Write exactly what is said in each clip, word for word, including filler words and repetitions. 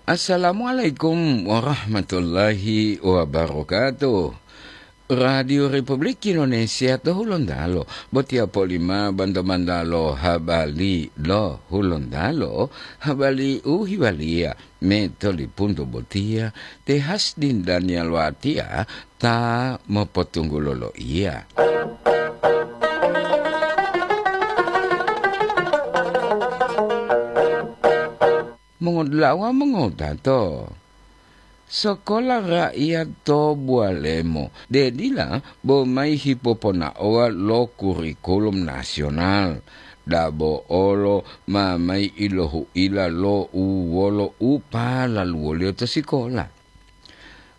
Assalamualaikum warahmatullahi wabarakatuh. Radio Republik Indonesia to Hulontalo, botiya polima banta-banta lo habari lo Hulontalo, habari u hiwaliya me tolipunto botiya te Hasdin Daniel Watia ta mopotunggulo loiya. Mongodula'a wawu mongotato, Sokola Rakyat to Bualemo, dedila bo mayi hipoponaowa lo kurikulum nasional, dabo olo ma mayi ilohuila lo u wolo u palaluwoliyo to sikola.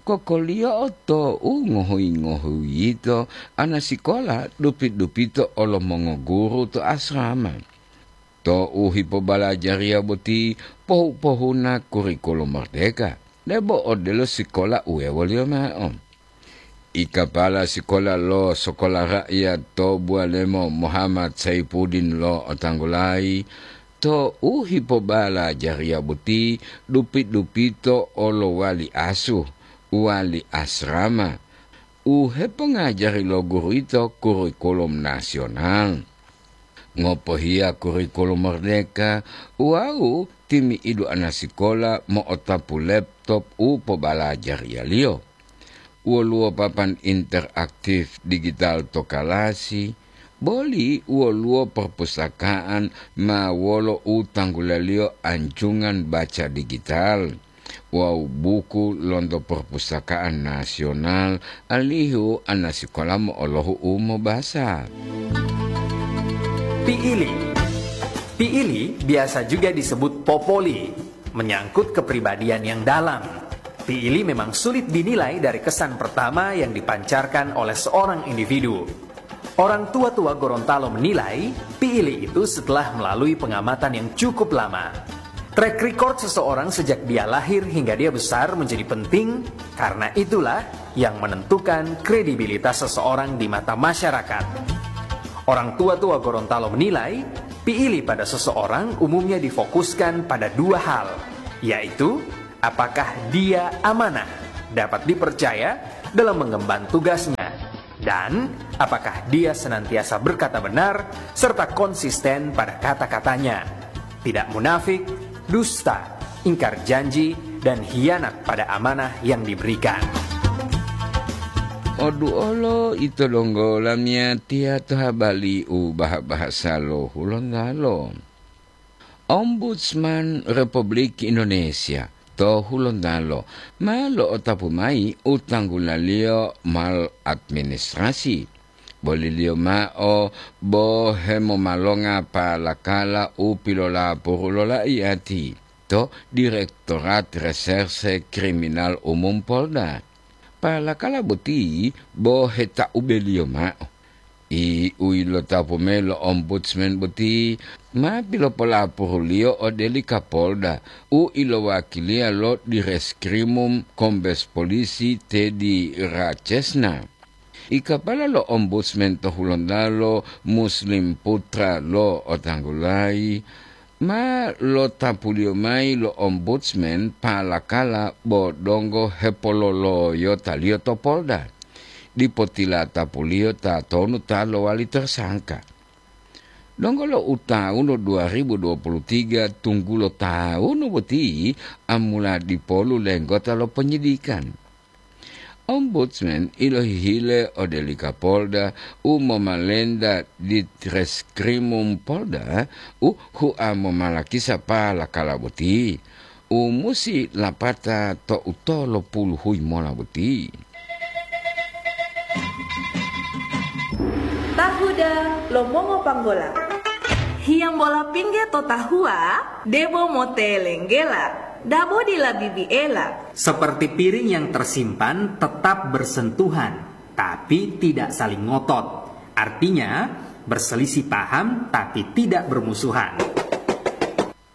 Kokoliyo'o to u ngohuyi-ngohuyi yito, ana sikola dupi-dupito olo mongoguru to asrama. To u hipobalajariya boti pohu-pohuna kurikulum merdeka, debo odelo sikola u wewoliyo mao. Ikapala sikola lo Sokola Rakyat to Bualemo Muhammad Saipuddin lo otanggulayi, to u hipobalajariya boti dupi-dupito olo wali asuh, wali asrama, u hepongajari lo guru yito kurikulum nasional. Ngopohiya kurikulum merdeka wawu timi'idu ana sikola mo'otapu laptop u pobalajariyaliyo. Woluwo papan interaktif digital to kalasi, boli woluwo perpustakaan ma wolo u tanggulaliyo anjungan baca digital wawu buku lonto perpustakaan nasional, alihu ana sikola mo'olohu u mobasa. Piili. Piili biasa juga disebut popoli, menyangkut kepribadian yang dalam. Piili memang sulit dinilai dari kesan pertama yang dipancarkan oleh seorang individu. Orang tua-tua Gorontalo menilai, Piili itu setelah melalui pengamatan yang cukup lama. Track record seseorang sejak dia lahir hingga dia besar menjadi penting, karena itulah yang menentukan kredibilitas seseorang di mata masyarakat. Orang tua-tua Gorontalo menilai, Piili pada seseorang umumnya difokuskan pada dua hal, yaitu apakah dia amanah, dapat dipercaya dalam mengemban tugasnya, dan apakah dia senantiasa berkata benar serta konsisten pada kata-katanya, tidak munafik, dusta, ingkar janji, dan hianat pada amanah yang diberikan. Oduolo ito donggo lamiyatiya to habari u baha-bahasa lo Hulontalo. Ombudsman Republik Indonesia to Hulontalo ma lo'otapu mayi u tanggulaliyo maladministrasi. Boliliyo mao bo hemomalonga palakala u pilolapuru lo laiyati to Direktorat Reserse Kriminal Umum Polda. Palakala boti bo hetaubeliyo mao. I u ilotapu mayi lo Ombudsman boti ma pilopolapuruliyo ode li Kapolda u ilowakiliya lo Direskrimum Kombes Polisi Teddy Rachesna. I kapala lo Ombudsman to Hulontalo Muslim Putra lo otanggulayi ma lotapuliyo mayi lo Ombudsman palakala bo donggo hepololoyotaliyo to Polda. Dipo tilatapuliyo tatonu ta lowali tersangka. Donggo lo u tawunu dua ribu dua puluh tiga tunggulo tawunu boti amula dipolu lenggota lo penyidikan. Ombudsman ilohihile ode li Kapolda u momalenta di Treskrimum Polda u hua momalakisa palakala boti u musi lapata to utolo puluhuyi mola boti. Tahuda lo mongo panggola. Hiyambola pingge to tahua, debo motelenggela, dabo dila bibiela. Seperti piring yang tersimpan tetap bersentuhan, tapi tidak saling ngotot. Artinya, berselisih paham tapi tidak bermusuhan.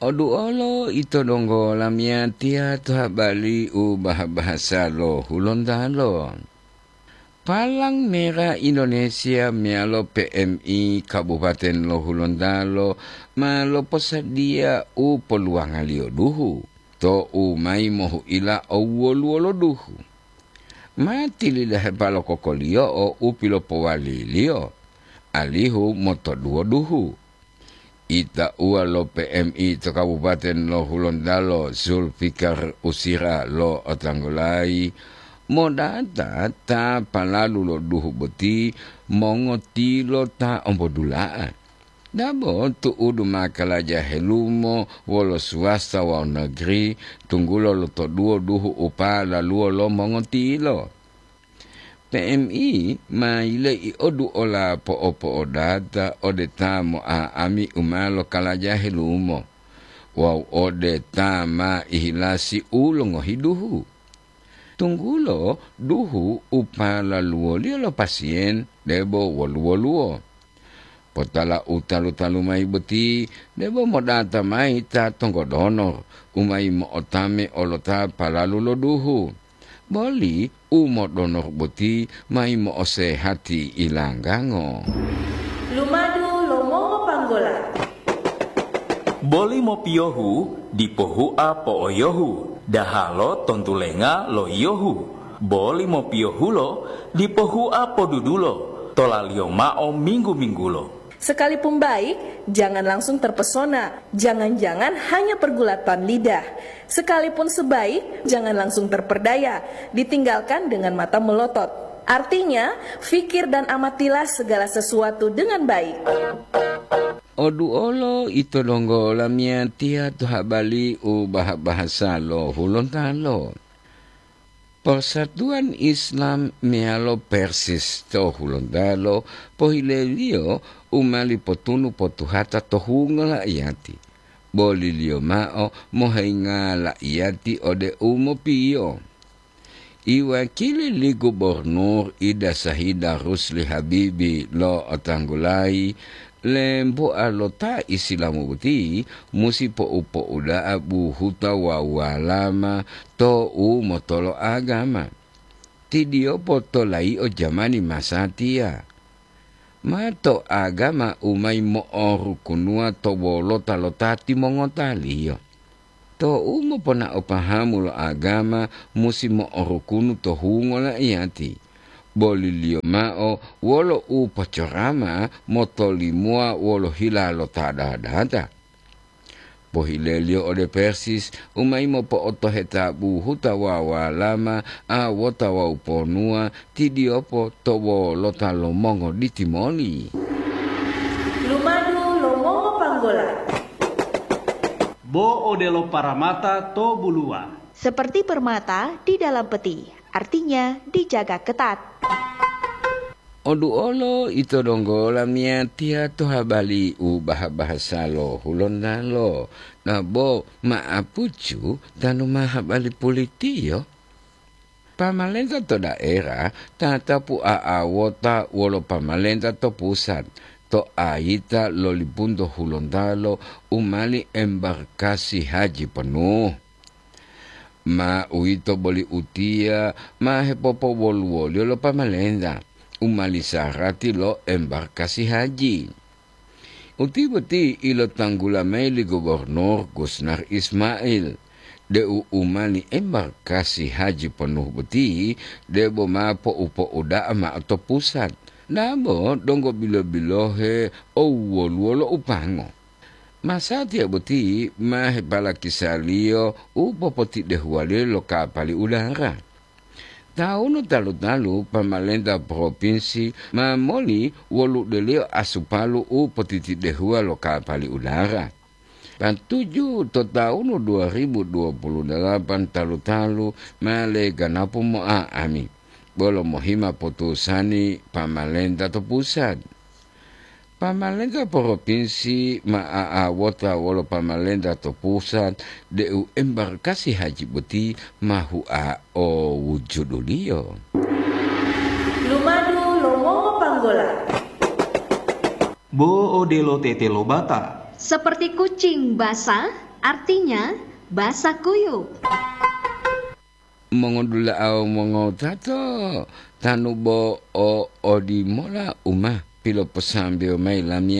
Oduolo ito donggo lamiyatiya to habari u baha-bahasa lo Hulontalo. Palang Merah Indonesia meyalo P M I Kabupaten lo Hulontalo ma loposadiya u poluwangaliyo duhu. to'u mayi mohu'ila owoluwo lo duhu. Ma tilidahepa lo kokoliyo'o u pilopowaliliyo, alihu motoduwo duhu. Itauwa lo P M I to Kabupaten lo Hulontalo, Zulfikar Usira, lo'otanggulayi modata ta palalu lo duhu boti mongotilo ta ombodula'a. Dabo tu'udu ma kalaja helumo wolo swasta wawu negeri, tunggulo lotoduwo duhu u palaluwo lo mongotilo. P M I ma yile'i oduola po'opo'odata ode ta mo'a'ami u ma lokalaja helumo wawu ode ta ma ihilasi u longohi duhu. Tunggulo duhu u palaluwoliyo lo pasiyen debo woluwo-luwo. Potala u talu-talu mayi boti debo modata mayi ta tonggodonor u mayi mo'otame olo ta palalu lo duhu. Boli u modonor boti mayi mo'osehati ilanggango. Lumadu lo mongopanggola. Boli mopiyohu dipo hua po'oyohu, dahalo tontulenga lo yiyohu. Boli mopiyohulo dipo hua podudulo, tolaliyo mao minggu-minggulo. Sekalipun baik, jangan langsung terpesona. Jangan-jangan hanya pergulatan lidah. Sekalipun sebaik, jangan langsung terperdaya. Ditinggalkan dengan mata melotot. Artinya, fikir dan amatilah segala sesuatu dengan baik. Oduolo ito donggo lamiyatiya to habali u baha-bahasa lo Hulontalo. Persatuan Islam meyalo Persis to Hulontalo pohileliyo u mali potunu potuhata to hungo la'iyati. Boliliyo mao mohenga la'iyati ode u mopiyo. Iwakili li Gubernur Ida Sahida Rusli Habibi lo'otanggulayi, lemboa lo ta Isilamu boti musi po'u-po'uda'a buhuta wawu walama to u motolo agama. Tidiyopo to layi'o jamani masatiya. Ma to agama u mayi mo'orukunuwa to wolota lo ta timongotaliyo. To'u moponao pahamu lo agama musi mo'orukunu to hungo la'iyati, boliliyo mao wolo u pocorama motolimowa wolo hila lo ta dadata. Pohileliyo ode Persis u mayi mopo'otoheta buhuta wawu walama, awota wawu ponuwa, tidiyopo to wolota lo mongoditi moli. Lumadu lo mongopanggola. Bo odelo paramata to buluwa. Seperti permata di dalam peti, artinya dijaga ketat. Oduolo ito donggo lamiyatiya to habali u baha-bahasa lo Hulontalo, nabo ma'apucu tanu ma habali pulitiyo. Pamalenta to daerah tatapu a'awota wolo pamalenta to pusat, to ayita lo lipunto Hulontalo u mali embarkasi haji penuh. Ma uwito boli utiya ma hepopowoluwoliyo lo pamalenta u mali sarati lo embarkasi haji. Uti boti ilotanggula mayi li Gubernur Gusnar Ismail, deu u mali embarkasi haji penuh boti debo ma po'upo'uda'a mao to pusat, dabo donggo bilo-bilohe owwoluwo lo upango. Masatiya boti ma hepalakisaliyo u popotidehuwaliyo lo kapali udara. Tawunu talu-talu pamalenta propinsi ma moli woludeliyo asupalu u potitidehuwa lo kapali udara. Patuju to tawunu dua ribu dua puluh dalapan talu-talu ma leganapu mo'a'ami, bolo mohima potusani pamalenta to pusat. Pamalenta propinsi ma a'awota wolo pamalenta to pusat deu embarkasi haji boti ma hua o wujuduliyo. Lumadu lo mongopanggola. Bo odelo tete lo bata. Seperti kucing basah, artinya basah kuyup. Mongodula'a wawu mongotato, tanu bo o odimola u ma piloposambewo mayi lamiya